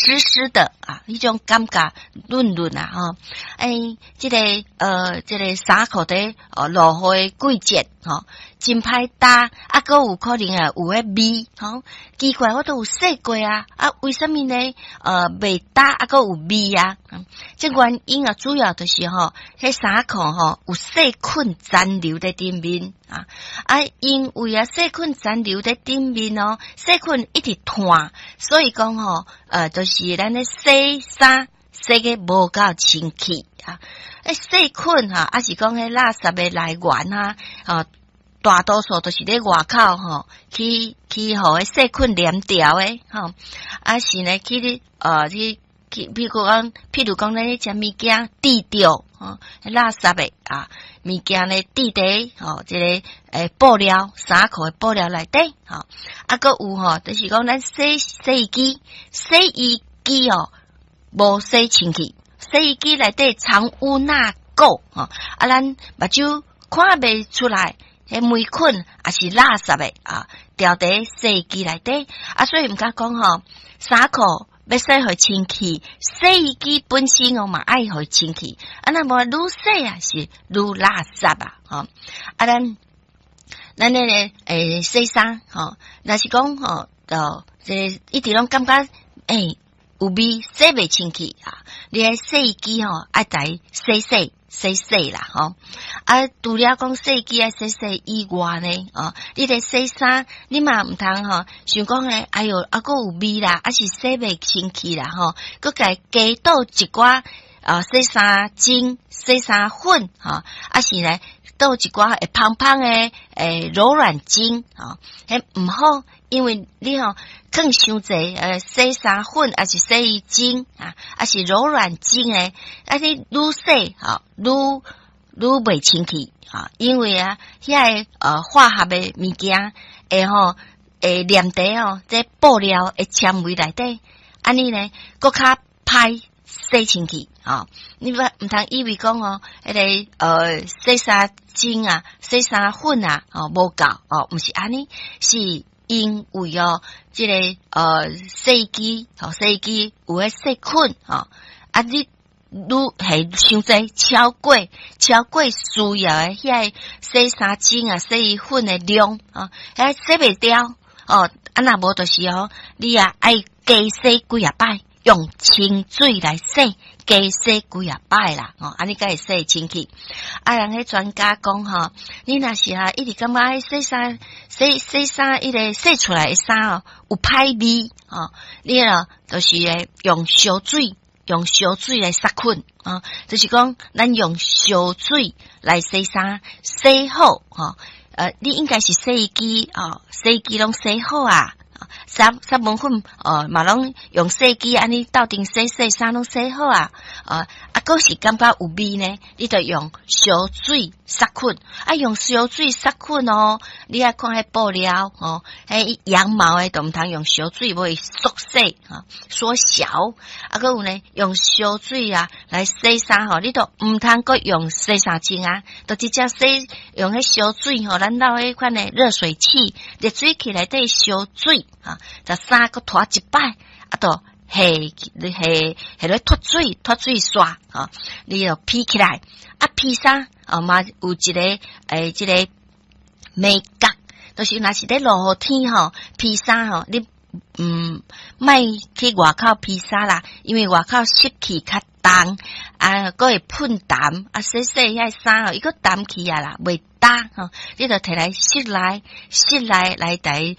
濕濕的啊，彼種感覺潤潤啊，吼！欸，這個衫褲佇落雨的季節吼，真歹焦，啊，閣有可能啊有彼味，吼，奇怪，我都有洗過啊，啊，為啥物呢？袂焦啊，閣有味啊？這原因啊，主要就是吼，彼衫褲吼有細菌殘留佇頂面啊，啊，因為啊細菌殘留佇頂面哦，細菌一直湠，所以講吼，就是咱咧洗衫洗個無夠清氣啊，欸，細菌哈，抑是講彼垃圾的來源啊，啊，大多數都是咧外口吼，去予彼細菌黏著的吼，啊是呢去，譬如講咱咧食物件滴著吼，垃圾的啊物件咧滴佇吼，這個布料衫褲的布料內底吼，啊閣有吼，就是講咱洗洗衣機，洗衣機哦無洗清氣，洗衣機內底藏污納垢吼，啊咱目睭看袂出來，彼黴菌抑是垃圾的啊，牢佇洗衣機內底啊，所以毋敢講吼，衫褲欲洗予清氣，洗衣機本身哦嘛愛予清氣，啊若無愈洗啊是愈垃圾啊，吼啊咱彼個洗衫吼，若是講吼，就這個一直攏感覺有味，洗袂清氣啊，你彼洗衣機吼愛共洗洗洗洗啦，吼啊，除了講洗衣機愛洗洗以外呢，哦，你咧洗衫，你嘛毋通吼，想講咧，哎喲，啊閣有味啦，抑是洗袂清氣啦，吼，閣共加倒一寡啊洗衫精、洗衫粉，吼，抑是咧倒一寡會芳芳的柔軟精，吼，彼毋好，因為你吼囥傷濟洗衫粉，抑是洗衣精啊，抑是柔軟精的，啊你愈洗吼愈愈袂清氣啊，因為啊遐个化學的物件會吼會黏佇吼這布料的纖維內底，按呢呢閣較歹洗清氣吼。你毋通以為講哦，彼個洗衫精啊、洗衫粉啊，哦無夠哦，毋是按呢，是因為哦，這個洗衣機吼，洗衣機有彼細菌吼，啊你愈下傷濟超過需要的遐個洗衫精啊、洗衣粉的量哦，彼洗袂掉哦，啊若無就是哦，你也愛加洗幾仔擺，用清水來洗，加洗幾仔擺啦，哦，按呢才會洗清氣。啊，人彼專家講吼，你若是哈一直感覺洗衫、洗洗衫，彼個洗出來的衫哦有歹味哦，你哦就是會用燒水，用燒水來殺菌啊，就是講咱用燒水來洗衫，洗好吼，你應該是洗衣機哦，洗衣機攏洗好啊。殺蚊粉哦，嘛攏用洗衣機按呢鬥陣洗洗衫攏洗好啊，啊，閣是感覺有味呢，你就用燒水殺菌，啊，用燒水殺菌哦，你愛看彼布料哦，彼羊毛的都毋通用燒水，無會縮細吼，縮小。啊，閣有呢，用燒水啊來洗衫吼，你都毋通閣用洗衫精啊，就直接洗用彼燒水吼，咱撈彼款的熱水器，熱水器內底燒水。啊，共衫閣拖一擺，啊，就下下下咧脫水，脫水刷，吼，你就披起來，啊，披衫，哦嘛有一個這個眉角，就是若是咧落雨天吼，披衫吼，你莫去外口披衫啦，因為外口濕氣較重，啊，閣會噴澹，啊，洗洗遐衫吼，伊閣澹去啊啦，袂焦吼，你就提來室內，室內來來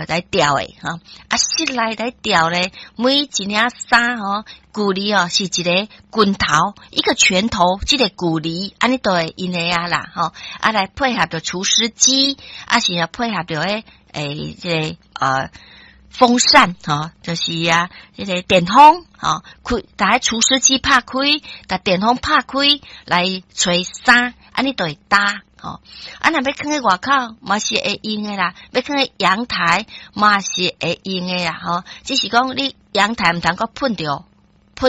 來吊的吼，啊，室內來吊咧，每一領衫吼，距離哦是一个拳頭，一個拳頭，這個距離，按呢就會用的啊啦吼，啊來配合著除濕機，啊是啊配合著這個風扇吼，就是啊，這個電風吼，開，共除濕機拍開，共電風拍開來吹衫，按呢就會焦吼。啊，若欲囥佇外口嘛是會用的啦，欲囥佇陽台嘛是會用的啦吼。只是講你陽台毋通閣噴著。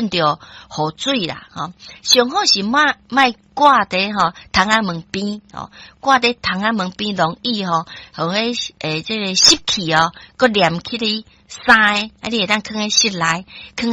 噴著雨水啦，吼。上好是莫莫掛佇吼窗仔門邊，吼，掛佇窗仔門邊容易吼，予彼這個濕氣哦，閣黏起佇衫，啊，你會當囥佇室內，囥。